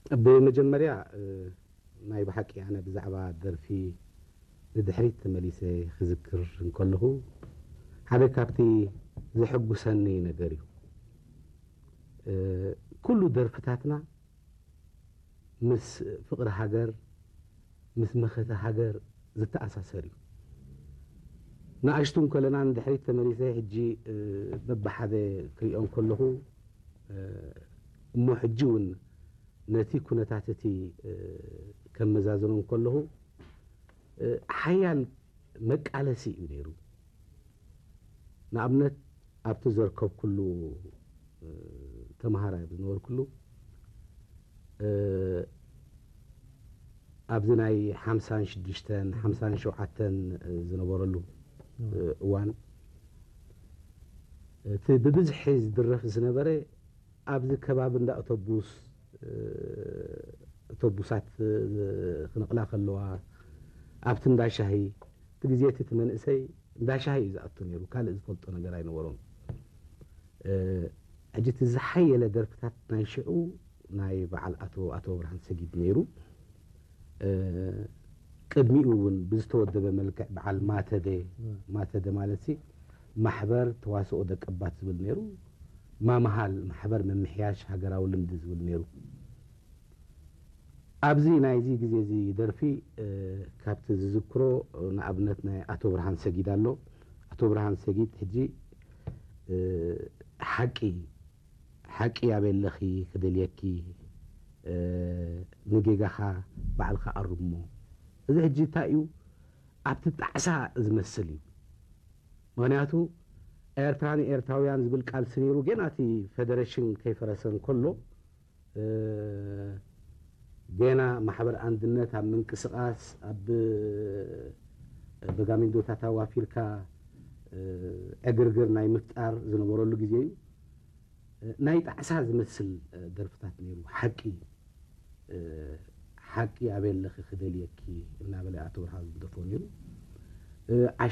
ብመጀመርያ፣ እ፣ ናይ ብሓቂ ኣነ ብዛዕባ ደርፊ ንድሕሪት ተመሊሰ ክዝክር እንከለኹ፣ ሓደ ካብቲ ዘሐጉሰኒ ነገር እዩ። እ፣ ኩሉ ደርፍታትና ምስ ፍቕሪ ሃገር፣ ምስ መኸተ ሃገር ዝተኣሳሰር እዩ። ንኣሽቱ እንከለና ንድሕሪት ተመሊሰ ሕጂ፣ እ፣ በብሓደ ክሪኦ እንከለኹ፣ እ፣ እሞ ሕጂ እውን ነቲ ኩነታት እቲ፣ እ፣ ከመዛዝኖ እንከለኹ፣ እ፣ ሓያል መቃለሲ እዩ ነይሩ። ንኣብነት፣ ኣብቲ ዘርከብኩሉ፣ እ፣ ተምሃራይ ኣብ ዝነበርኩሉ፣ እ፣ ኣብዚ ናይ ሓምሳን ሽዱሽተን፣ ሓምሳን ሸውዓተን ዝነበረሉ፣ እ፣ እዋን፣ እቲ ብብዝሒ ዝድረፍ ዝነበረ ኣብዚ ከባቢ እንዳ ኣውቶቡስ፣ እ፣ ኣውቶቡሳት፣ እ፣ ክንቕላ ከለዋ፣ ኣብቲ እንዳ ሻሂ፣ እቲ ግዜ እቲ፣ እቲ መንእሰይ እንዳ ሻሂ እዩ ዝኣቱ ነይሩ፣ ካልእ ዝፈልጦ ነገር ኣይነበሮን። እ፣ ሕጂ እቲ ዝሓየለ ደርፍታት ናይ ሽዑ ናይ በዓል ኣቶ፣ ኣቶ ብርሃን ሰጊድ ነይሩ። እ፣ ቅድሚኡ እውን ብዝተወደበ መልክዕ በዓል ማተደ፣ ማተደ ማለት ሲ ማሕበር ተዋስኦ ደቀባት ዝብል ነይሩ፣ ማምሃል ማሕበር ምምሕያሽ ሃገራዊ ልምዲ ዝብል ነይሩ። ኣብዚ ናይዚ ግዜ እዚ ደርፊ፣ እ፣ ካብቲ ዝዝክሮ፣ ንኣብነት ናይ ኣቶ ብርሃን ሰጊድ ኣሎ። ኣቶ ብርሃን ሰጊድ ሕጂ፣ እ፣ ሓቂ፣ ሓቂ ኣበይ ኣለኺ ክደልየኪ፣ እ፣ ንጌጋኻ ባዕልኻ ኣርሞ። እዚ ሕጂ እንታይ እዩ? ኣብቲ ጣዕሳ ዝመስል እዩ። ምኽንያቱ ኤርትራ ንኤርትራውያን ዝብል ቃልሲ ነይሩ፣ ገና እቲ ፌደሬሽን ከይፈረሰ እንከሎ፣ እ፣ ገና ማሕበር ኣንድነት ኣብ ምንቅስቓስ፣ ኣብ በጋሚንዶታት ኣዋፊርካ፣ እ፣ ዕግርግር ናይ ምፍጣር ዝነበረሉ ግዜ እዩ። እ፣ ናይ ጣዕሳ ዝመስል፣ እ፣ ደርፍታት ነይሩ። ሓቂ፣ እ፣ ሓቂ ኣበይ ኣለኺ ክደልየኪ እናበለ ኣቶ ብርሃን ዝደርፎ ነይሩ። እ፣ ዓሽ